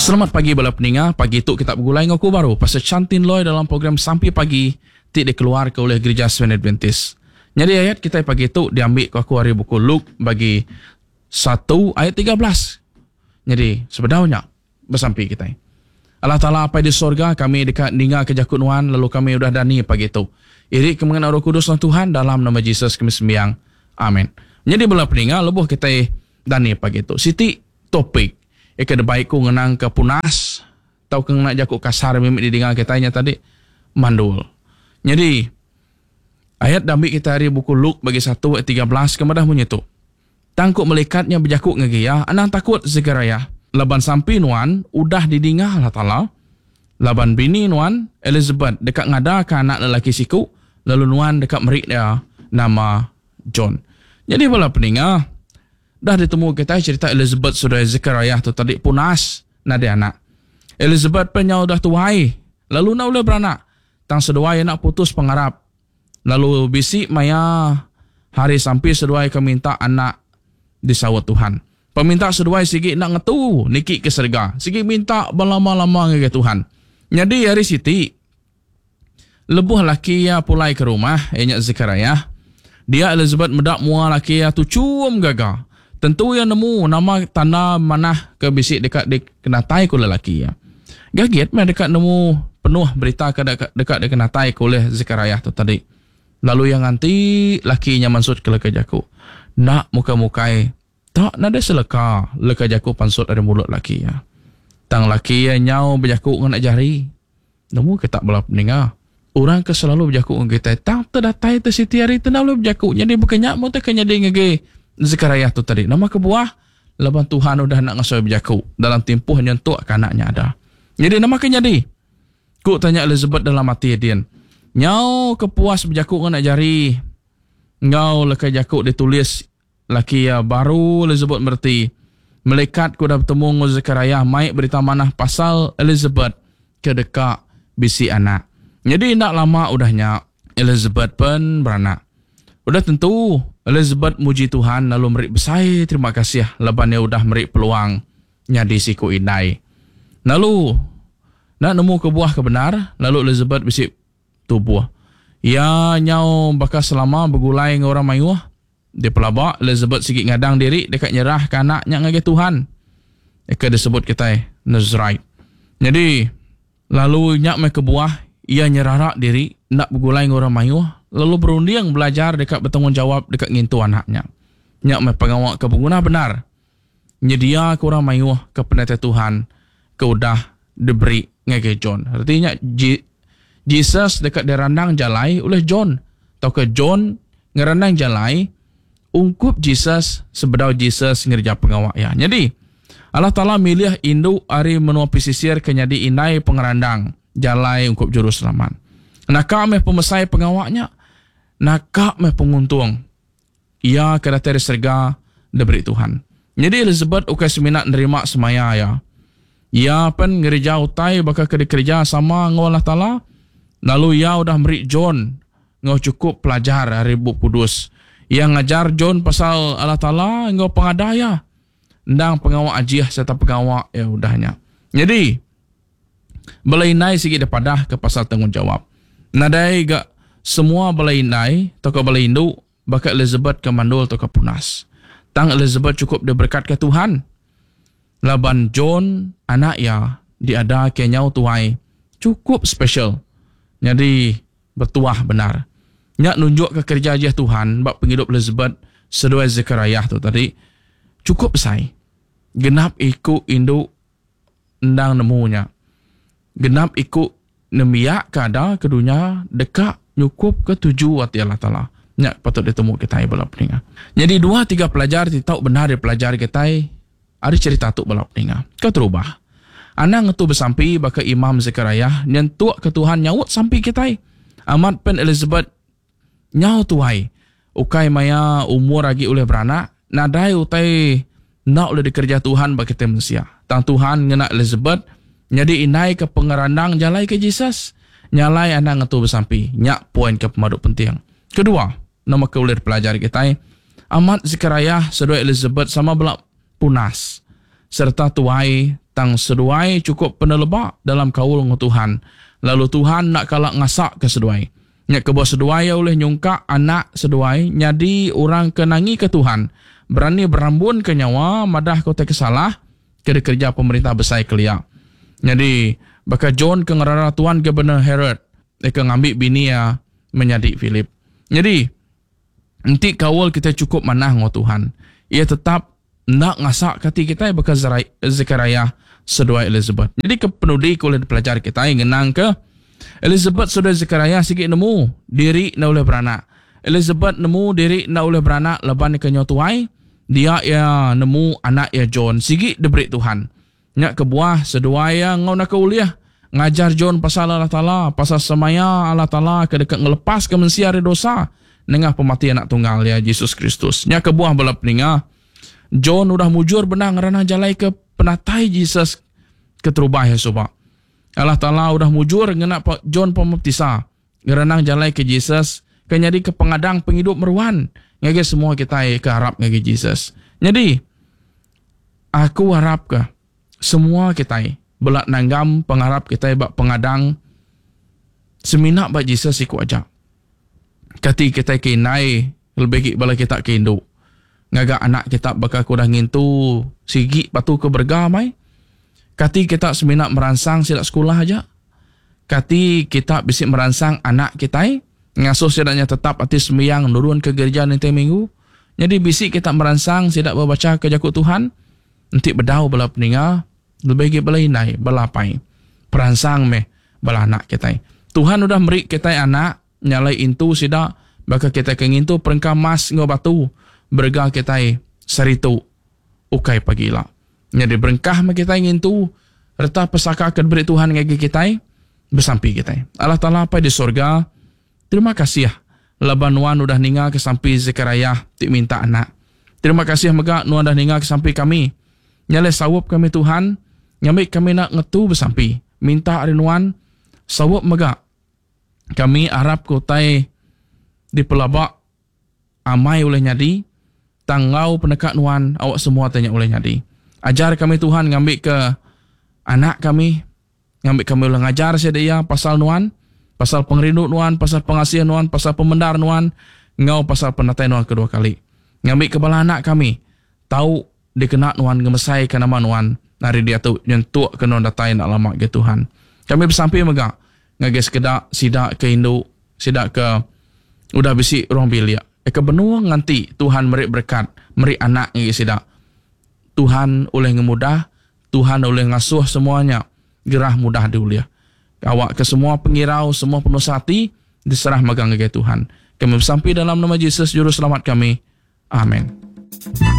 Selamat pagi bala peninga, pagi tu kita begulai enggau aku baru Pastor Chantin Loy dalam program Sampi Pagi ti dikeluarka ulih Gerija Seventh Adventist. Nyadi ayat kitai pagi tu diambi ku aku ari buku Luke bagi satu ayat 13. Nyadi sebedau nya besampi kitai. Allah Taala Apai di sorga kami deka ninga ke jaku nuan lalu kami udah dani pagi tu. Iri ke mengena Roh Kudus nuan Tuhan dalam nama Jesus kami sembiang. Amin. Nyadi bala peninga lebuh kitai dani pagi tu siti topik ika debai ku ngenang ke punas tauka ngena jaku kasar mimit didinga kitai nya tadi mandul. Nyadi ayat dambi kitai ari buku Luke bagi satu ayat 13 ke madah munyi tu. Tang ku melikat nya bejaku ngagai iya, Anang takut, Sekariah, laban sampi nuan udah didinga Allah Taala. Laban bini nuan, Elisabet, deka ngadaka anak lelaki siku, lalu nuan deka meri iya nama John. Nyadi bala peninga, dah ditemu kitai cherita Elisabet seduai Sekariah tu tadi punas nadai anak. Elisabet pen nyau udah tuai, lalu enda ulih beranak. Tang seduai enda putus pengarap. Lalu bisi maya hari sampi seduai ke minta anak disaut Tuhan. Peminta seduai sigi enda ngetu niki ke serega, sigi minta belama-lama ngagai Tuhan. Nyadi hari siti, lebuh laki iya pulai ke rumah, iya nya Sekariah, dia Elisabet meda mua laki iya tuchum gaga. Tentu iya nemu nama tanda manah ke bisi deka dikenataika ulih laki iya. Gagit meh deka nemu penuh berita ke deka dikenataika ulih Sekariah tu tadi. Lalu iya nganti laki nya mansutka leka jaku. Enda mukai-mukai, tak nadai seleka leka jaku pansut ari mulut laki iya. Tang laki iya nyau bejaku ngena jari. Nemu ke tak bala peninga. Orang ke selalu bejaku enggau kitai tang te datai te siti hari te enda ulih bejaku. Nyadi baka nya meh utai ke nyadi ngagai Sekariah tu tadi. Nama kebuah? Laban Tuhan udah enda ngasuh iya bejaku dalam timpuh nyentuk ke anak nya ada. Nyadi nama ke nyadi? Ku tanya Elizabeth dalam ati iya din. Nyau ke puas bejaku ngena jari enggau leka jaku ditulis Laki iya baru Elizabeth mereti, melikat ke udah betemu enggau Sekariah mai berita manah pasal Elizabeth ke deka bisi anak. Nyadi enda lama udah nya, Elizabeth pen beranak. Udah tentu, Elizabeth muji Tuhan lalu meri besai terima kasih laban iya udah meri peluang nyadi siku indai. Lalu, enda nemu kebuah ke bendar, lalu Elizabeth bisi tubuh. Iya nyau baka selama begulai enggau orang mayuh. Dipelaba, Elizabeth sigi ngadang diri deka nyerahka anak nya ngagai Tuhan, ke disebut kitai Nazirite. Nyadi, lalu nya meh kebuah iya nyerara diri enda begulai enggau orang mayuh lalu berunding belajar deka betanggungjawap deka ngintu anak nya. Nya meh pengawa ke beguna bendar nyediaka orang mayuh ke penatai Tuhan ke udah diberi ngagai John. Reti nya, Jesus deka dirandang jalai ulih John, tauka John ngerandang jalai ungkup Jesus sebedau Jesus ngereja pengawa iya. Nyadi, Allah Taala milih indu ari menua pesisir ke nyadi indai pengerandang jalai ungkup Juruselamat. Naka meh pemesai pengawa nya, naka meh penguntung iya ke datai ari serega diberi Tuhan. Nyadi Elizabeth ukai semina nerima semaya iya. Iya pen ngereja utai baka ke dikereja sama enggau Allah Taala, lalu iya udah meri John enggau chukup pelajar ari Bup Kudus. Iya ngajar John pasal Allah Taala enggau pengada iya. Endang pengawa ajih sereta pengawa iya udah nya. Nyadi, bala indai sigi dipadahka pasal tanggungjawap. Nadai ga semua bala indai tauka bala indu Baka Elizabeth ke mandul tauka punas. Tang Elizabeth chukup diberekatka Tuhan laban John anak iya diadaka nyau tuai chukup special nyadi betuah bendar. Nya nunjukka kereja ajih Tuhan ba pengidup Elizabeth seduai Zechariah tu tadi chukup besai. Genap iku indu endang nemu nya. Genap iku nembiak ke ada ke dunya deka nyukupka tuju ati Allah Taala. Nya patut ditemu kitai bala peninga. Nyadi dua tiga pelajar ti tau bendar dipelajar kitai ari cherita tu bala peninga. Keterubah, anang ngetu besampi baka Imam Zekariah nyentukka Tuhan nyaut sampi kitai. Amat pen Elizabeth Nyau tuai, ukai maya umur agi ulih beranak, nadai utai enda ulih dikereja Tuhan ba kitai mensia. Tang Tuhan ngena Elizabeth nyadi indai ke pengerandang jalai ke Jesus. Nya alai anang ngetu besampi. Nya poin ke pemadu penting. Kedua, nama ke ulih dipelajar kitai? Amat Zekariah seduai Elizabeth sama bela punas sereta tuai. Tang seduai chukup peneleba dalam kaul enggau Tuhan, lalu Tuhan enda kala ngasaka seduai. Nya kebuah seduai iya ulih nyungkak anak seduai nyadi orang ke nangika Tuhan, berani berambunka nyawa madahka utai ke salah ke dikereja pemerintah besai kelia. Nyadi, baka John ke ngerara Tuan Gubernur Herod ke ngambi bini iya menyadi Philip. Nyadi, enti kaul kitai chukup manah enggau Tuhan, Iya tetap enda ngasaka ati kitai baka Zekariah seduai Elizabeth. Nyadi ke penudi ke ulih dipelajar kitai ngenangka Elizabeth seduai Zekariah sigi nemu diri enda ulih beranak. Elizabeth nemu diri enda ulih beranak laban iya ke nyau tuai, dia iya nemu anak iya John sigi diberi Tuhan. Nya kebuah seduai iya enggau naka ulih ngajar John pasal Allah Taala, pasal semaya Allah Taala ke deka ngelepaska mensia ari dosa nengah pemati Anak Tunggal Iya, Jesus Kristus. Nya kebuah bala peninga, John udah mujur bendar ngeranah jalai ke penatai Jesus keterubah iya suba. Allah Taala udah mujur ngena John Pemaptisa ngerenang jalai ke Jesus ke nyadika pengadang pengidup meruan ngagai semua kitai ke arap ngagai Jesus. Nyadi, aku arapka semua kitai bela nanggam pengarap kitai ba pengadang semina ba Jesus siku aja. Kati kitai ke indai lebih agi bala kita ke indu ngaga anak kita baka ke udah ngintu sigi batu ke berega mai? Kati kita semina meransang sida sekulah aja? Kati kita bisi meransang anak kitai ngasuh sida nya tetap ati sembiang nurun ke gerija ninting minggu? Nyadi bisi kita meransang sida bebachaka jaku Tuhan? Enti bedau bala peninga, lebih agi bala indai, bala apai, peransang meh bala anak kitai. Tuhan udah meri kitai anak nyalai intu sida baka kitai ke ngintu perengka emas enggau batu berega kitai seharitu ukai pagila. Nyadi berengkah meh kitai ngintu reta pesaka ke diberi Tuhan ngagai kitai, besampi kitai. Allah Taala Apai di sorga, terima kasih laban nuan udah ninga ke sampi Zekariah ti minta anak. Terima kasih mega nuan udah ninga ke sampi kami. Nya alai saup kami Tuhan, ngambi kami enda ngetu besampi, minta ari nuan, saup mega kami arap ke utai dipelaba Amai ulih nyadi, tang enggau peneka nuan awak semua te nya ulih nyadi. Ajar kami Tuhan ngambika anak kami, ngambi kami ulih ngajar sida iya pasal nuan, pasal pengerindu nuan, pasal pengasih nuan, pasal pemendar nuan, enggau pasal penatai nuan kedua kali. Ngambika bala anak kami tau dikena nuan ngemesaika nama nuan ari diatu nyentukka nuan datai enda lama agi Tuhan. Kami besampi mega ngagai sekeda sida ke indu, sida ke udah bisi ruang bilik, ke benung nganti Tuhan meri berekat, meri anak ngagai sida. Tuhan ulih ngemudah, Tuhan ulih ngasuh semua nya gerah mudah diulih. Awakka semua pengirau, semua penusah ati diserah mega ngagai Tuhan. Kami besampi dalam nama Jesus Juruselamat kami. Amen.